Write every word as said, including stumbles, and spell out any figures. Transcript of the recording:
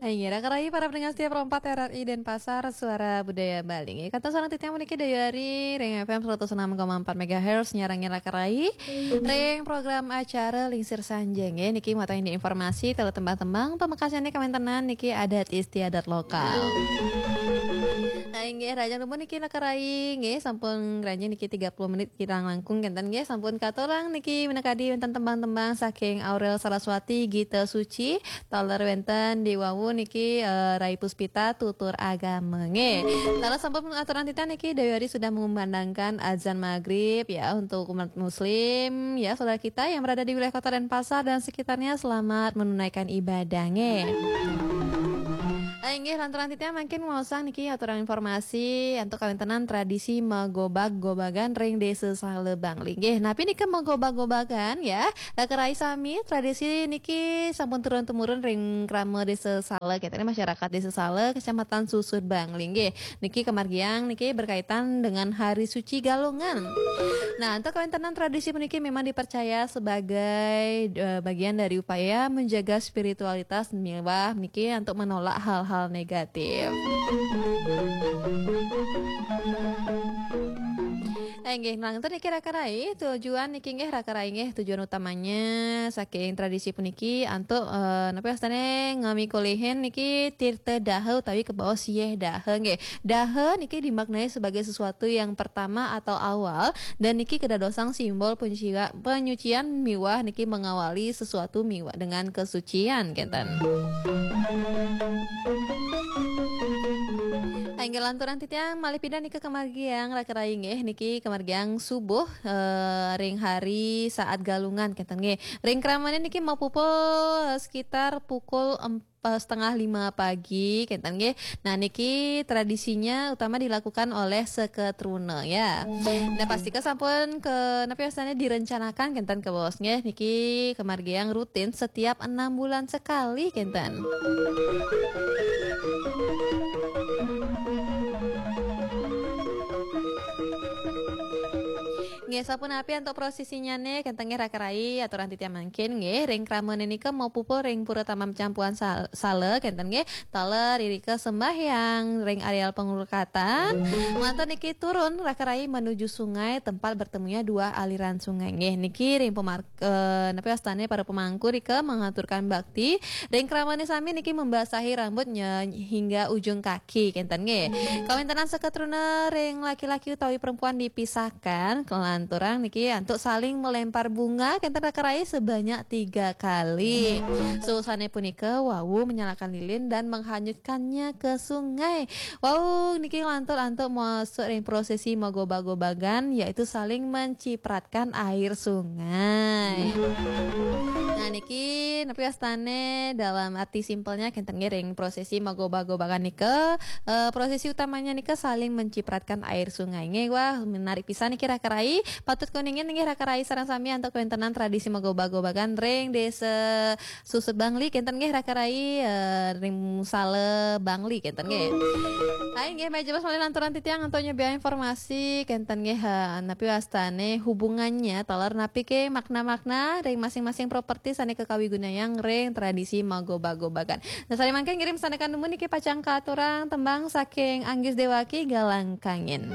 Inggih, raka rayi para pendengar setia Pro empat R R I Denpasar, Suara Budaya Bali. Inggih, kantun sareng titiang puniki Dayu Ari ring F M seratus enam koma empat megahertz, nyarengin raka rayi ring program acara Lingsir Sanjaya. Inggih, niki mawatang indik informasi, taler tembang-tembang, pamekasnyané kawéntenan niki adat istiadat lokal. Nah, inggih, rahajeng dumun niki raka rayi, inggih, sampun ngranjing niki tiga puluh menit kirang langkung kénten, inggih, sampun katurang niki minakadi wénten tembang-tembang saking Aurel Saraswati, Gita Suci, taler wénten diwawu niki, eh, Rai Puspita, Tutur Agama, nggih. Taler sampun aturang titiang niki, Dayu Ari sudah mengumandangkan azan maghrib ya untuk umat muslim ya, saudara kita yang berada di wilayah Kota Denpasar dan sekitarnya, selamat menunaikan ibadah, nggih. Ah, inggih, lanturang titiang mangkin maosang niki aturang informasi antuk kawéntenan tradisi magobag-gobagan ring Désa Sala, Bangli. Inggih, napi nika magobag-gobagan ya? Raka rayi sami, tradisi niki sampun turun-temurun ring krama Désa Sala, kénten, masyarakat Désa Sala, Kecamatan Susut, Bangli. Inggih, niki kamargiang niki berkaitan dengan Hari Suci Galungan. Nah, antuk kawéntenan tradisi puniki memang dipercaya sebagai, eh, bagian dari upaya menjaga spiritualitas miwah niki untuk menolak hal-hal negatif. Eh, inggih, nah, ngénten niki raka rayi, tujuan niki inggih raka rayi inggih, tujuan utamanya saking tradisi puniki antuk, eh, napi wastané ngamikulihin niki tirta daha utawi kabaos yéh daha, nggih. Daha niki dimaknai sebagai sesuatu yang pertama atau awal, dan niki kadadosang simbol penyucia-, penyucian miwah niki mengawali sesuatu miwah dengan kesucian, kénten. Inggih, lanturang titiang malih pidan nika kamargiang raka rayi, nggih, niki kamargiang subuh, eh, ring hari saat Galungan, kénten, nggih. Ring kramané niki mapupul sekitar pukul em-, eh, setengah lima pagi, kénten, nggih. Nah, niki tradisinya utama dilakukan oleh seketruna, ya. Nah, pastika sampun ke, napi wastané, direncanakan, kénten, kabaos, nggih. Niki kamargiang rutin setiap enam bulan sekali, kénten. Nggih, sapunapi antuk prosesinnyané, kénten, nggih, raka rayi, aturang titiang mangkin, nggih, ring kramané nika mapupul ring Pura Taman Campuhan Sal-, Sala, kénten, nggih, taler irika sembahyang ring areal pengurukatan. Nglantur niki turun raka rayi menuju sungai, tempat bertemunya dua aliran sungai, nggih, niki ring pemar-, eh, napi wastané, para pemangku rika mengaturkan bakti. Ring kramané sami niki membasahi rambutnya hingga ujung kaki, kénten, nggih. Kawéntenan seketruna ring laki-laki utawi perempuan dipisahkan, kelanturang niki antuk saling melempar bunga, kénten, raka rayi, sebanyak tiga kali. Seusahané punika wau menyalakan lilin dan menghanyutkannya ke sungai. Wau niki nglantur antuk masuk ring prosesi magoba-gobagan, yaitu saling mencipratkan air sungai. Nah, niki napi wastané, dalam arti simpelnya, kénten, nggih, ring prosesi magoba-gobagan nika, eh, prosesi utamanya nika saling mencipratkan air sungai. Nggih, wah, menarik pisan niki, raka rayi. Patut kuningin nggih, raka rayi, sareng sami antuk kawéntenan tradisi magoba-gobagan ring Désa Susut, Bangli, kénten, nggih, raka rayi, eh, ring Sala, Bangli, kénten, nggih. Hai, nggih, malih jebos malih lanturang titiang antuk nyobiahang informasi, kénten, nggih, eh, napi wastané, hubungannya taler napi ké makna-makna ring masing-masing properti sané kakawigunayang ring tradisi magoba-gobagan. Nah, sané mangkin ngiring sandekan dumun niki pacang katurang tembang saking Anggis Déwaki, Galang Kangin.